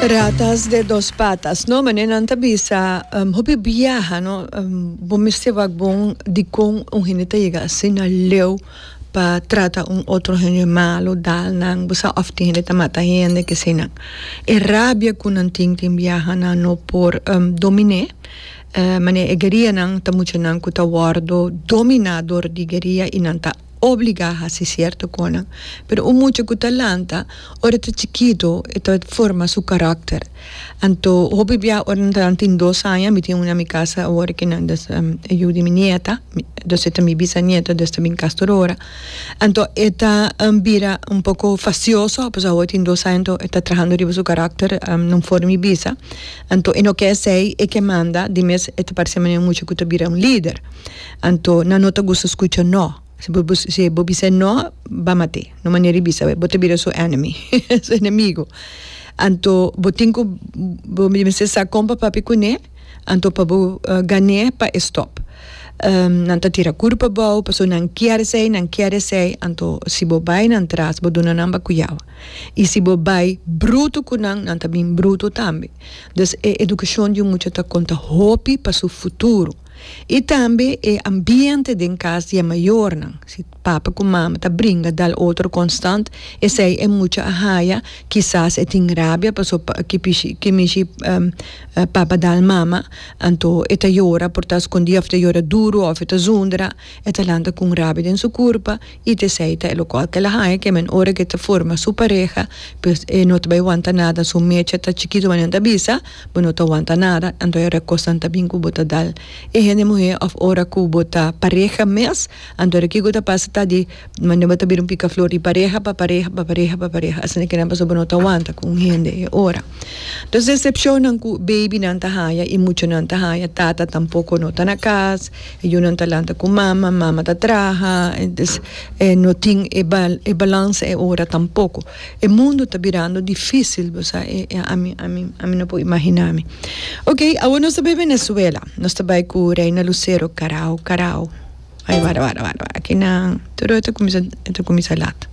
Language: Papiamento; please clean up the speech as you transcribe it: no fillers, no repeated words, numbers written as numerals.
Ratas de dos patas, no? Manera nan ta bisa, hopi biaha, no? Bo mester wak bon dikon un hende ta yega asina leu pa trata un otro hende malo, dal nan, bo sa, of tin hende ta mata hende, kesenan. E rabia ku nan tin, tin biaha nan no por domin'é. Manera e guerianan ta muchanan ku ta wòrdu dominá dor di gueria i nan ta obligá hasi sierto konan. Pero un mucha ku ta lanta ora e ta chikitu e ta forma su karakter. Anto hopi bia ora nan ta tin dos aña, mi tin un na mi kasa awor ku nan des e yu di mi nieta, dus e ta mi bisanieta dus ta bin kas tur ora. Anto e ta bira un poko fastioso pasobra awor e tin dos aña anto e ta trahando riba su karakter no for mi bisa. Anto e no ke esei, e ke manda, di mes e ta parse manera un mucha ku ta bira un lider. Anto nan no ta gusta skucha no. Si bo si bo bisa no, ba mat'é. No manera di bisa, bo ta bira su enemy, su enemigo. Anto bo tin ku bo mester sa kon pa papia kuné, anto pa bo gan'é pa e stòp. Nan ta tira kurpa abou pasobra nan kier esei, nan kier esei, anto si bo bai nan tras bo duna nan bakuyawa. I si bo bai bruto ku nan, nan ta bin bruto tambe. Dus e edukashon di un mucha ta konta hopi pa su futuro. I tambe e ambiente den kas di e mayornan. Si papa ku mama ta bringa dal otro konstant, esei e mucha a haya, kisas e tin rabia paso ki pishi ki mishi papa dal mama, anto e ta yora por ta skondí òf ta yora duru òf e ta zundra, e ta lanta ku un rabia den su kurpa. I t'esei ta e lokual ku el a haña ke men ora ku e ta forma su pareha, pues e no ta bai wanta nada, su mecha ta chikitu manera nan ta bisa, bo no ta wanta nada, anto e ora kosnan ta bin ku bo ta dal e hende muhé òf ora ku bo ta pareha mes, anto ora kiko ta pasa ta di manera bo ta bira un pikaflor di pareha pa pareha pa pareha pa pareha, asina kinan pasobra bo no ta wanta ku un hende e ora. Entonces decepcionnan ku babynan ta haña i muchanan ta haña, tata tampoko no ta na kas, E yunan ta lanta ku mama, mama ta traha, entonces e no tin e e balansa e ora tampoko. E mundu ta birando dificil, bo sa, e ami ami ami no por imagina mi. Ok, awor nos ta bai Venezuela, nos ta bai ku Reina Lucero, Carao, Carao. Ay, wara, wara, wara, wara, aki nan, tur e ta kuminsa, e ta kuminsa lat.